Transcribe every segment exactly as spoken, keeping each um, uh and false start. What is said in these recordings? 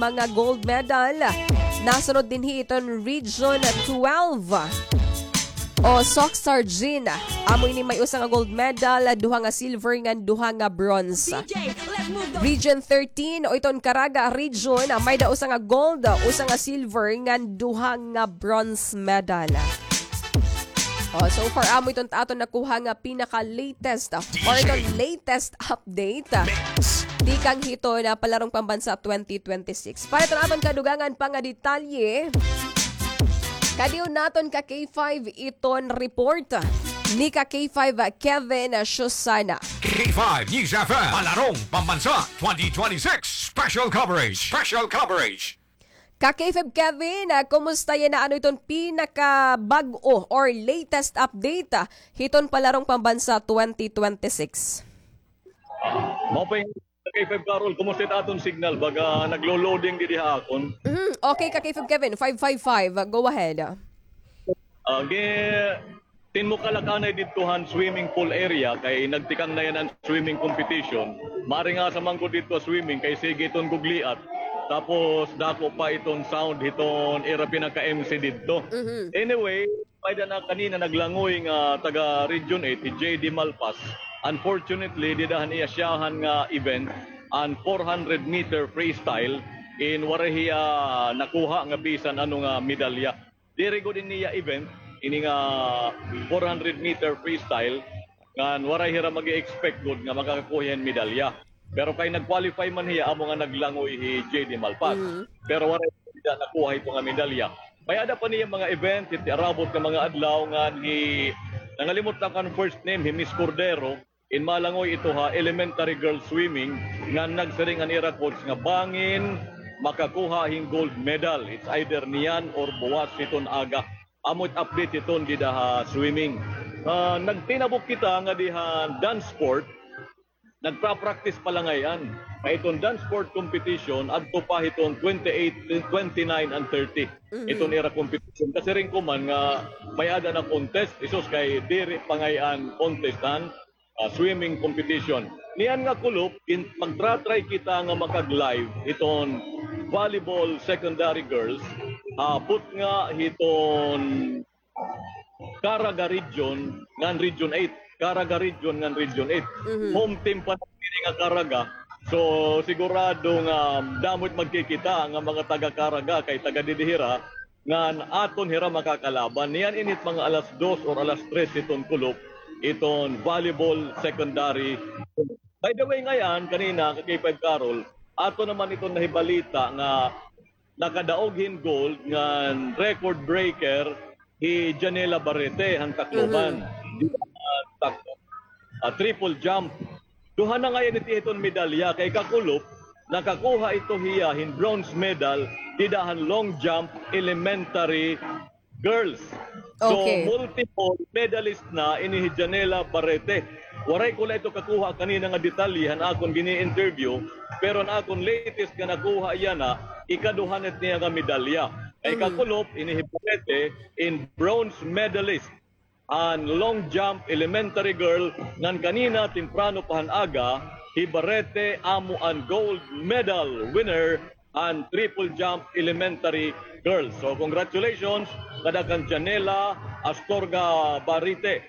mga gold medal. Nasunod dinhi iton Region twelve. O, Soc Sargin. Amo ini may usa nga gold medal, duha nga silver, ngan duha nga bronze. Region thirteen, o iton Caraga Region, may da usa nga gold, usa nga silver, ngan duha nga bronze medal. O, so far, amo iton aton nakuha nga pinaka-latest, or iton latest update. Tikang hiton palarong pambansa twenty twenty-six. Para iton aton kadugangan pa nga detalye, kadiyon naton ka K five iton report ni ka K five Kevin Susana. K five News F M, Palarong Pambansa twenty twenty-six Special Coverage. Special Coverage. Ka K five Kevin, ah, kumusta yana? Ano iton pinakabag-o or latest update, ah, hiton Palarong Pambansa twenty twenty-six? Maupay, K five Carol, kumusta it aton signal? Baga naglo-loading didi ha akon. Mhm. Okay, ka K five Kevin, five five five. Go ahead. Ah, gi-, tinmukal ak anay didto han swimming pool area kay nagtikang na yana an swimming competition. Maaring asa man ko didto swimming kay sige iton gugliat. Tapos dako pa iton sound hiton ira pinaka-M C didto. Mhm. Anyway, may-ada na kanina naglangoy nga taga Region eight, hi J D Malpas. Unfortunately, dida han iya siyahan nga event, an four hundred meter freestyle, in waray hiya nakuha nga bisan ano nga medalya. Diri gud ini iya event, ini nga four hundred meter freestyle, ngan waray hira mag-expect gud nga makakakuha hin medalya. Pero kay nag-qualify man hiya, amo nga naglangoy hi J D Malpas. Mhm. Pero waray hiya nakuha ito nga medalya. May-ada pa niya mga event, hit arabot nga mga adlaw, ngan hi, nangalimot na ko an first name, hi Miss Cordero, in malangoy ito ha elementary girls swimming, ngan nagsiring an ira coach nga bangin makakuha hin gold medal. It's either niyan or buwas hiton aga. Amo it update hiton dida ha swimming. Ah, nagtinabok kita nga diha dance sport, nagpa-practice pa la ngay-an. Kay iton dance sport competition, adto pa hiton twenty-eight, twenty-nine and thirty. Mhm. Iton ira competition. Kasiring ko man nga may-ada na contest, isus kay diri pa ngay-an contest han, ah, swimming competition. Niyan nga kulop, gin-, magtra-try kita nga makag-live hiton volleyball secondary girls, ah, put nga hiton Caraga Region ngan Region eight. Caraga Region ngan Region eight. Mhm. Home team pa na ini nga Caraga. So, sigurado nga damo it magkikita nga mga taga Caraga kay taga didi hira ngan aton hira makakalaban. Niyan init mga alas dos or alas tres hiton kulop, iton volleyball secondary. By the way, ngay-an, kanina, ka K five Carol, ato naman iton nahibalita nga nakadaog hin gold ngan record breaker hi Janela Barrete han Tacloban. Mhm. Di ba, ah, tak-, ah, triple jump. Duha na ngay-an it iya hiton medalya kay kakulop, nakakuha ito hiya hin bronze medal dida han long jump elementary girls. So, okay, multiple medalist na ini hi Janela Barrete. Waray ko la ito kakuha kanina nga detalye han akon gini-interview, pero an akon latest nga nakuha yana, ikaduha na it niya nga medalya. Kay, mhm, kakulop, ini hi Barrete in bronze medalist an long jump elementary girl, ngan kanina temprano pa han aga, hi Barrete amo an gold medal winner an triple jump elementary girls. So, congratulations kada kan Janela Astorga Barrete,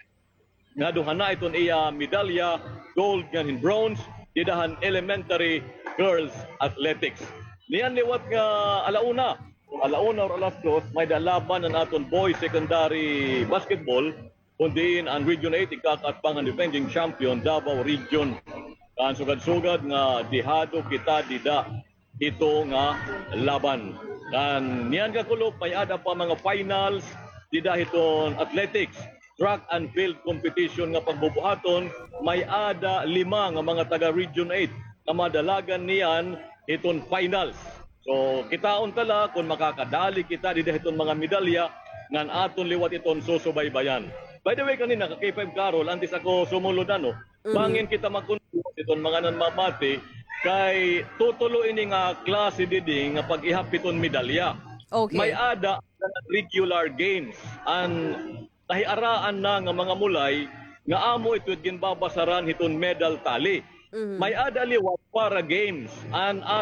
nga duha na iton iya medalya, gold ngan hin bronze, dida han elementary girls athletics. Niyan liwat nga ala una, ala una or alas dos, may-ada laban an aton boys secondary basketball, kun diin an Region eight igkakaatbang han defending champion Davao Region. Kan sugad-sugad nga dehado kita dida hito nga laban. Kan niyan kakulop, may-ada pa mga finals dida hiton athletics, track and field competition nga pagbubuhaton, may-ada lima nga mga taga Region eight nga madalagan niyan hiton finals. So, kitaon ta la kon makakadali kita dida hiton mga medalya ngan aton liwat iton susubaybayan. By the way, kanina, ka K five Carol, antes ako sumulod, ano, mhm, bangin kita magkundos hiton mga nanmamati, kay tutulo ini nga klase didi nga pag-ihap hiton medalya. Okay. May-ada regular games, an nahiaraan na nga mga mulay nga amo ito it ginbabasaran hiton medal tally. Mhm. May-ada liwat para games, an at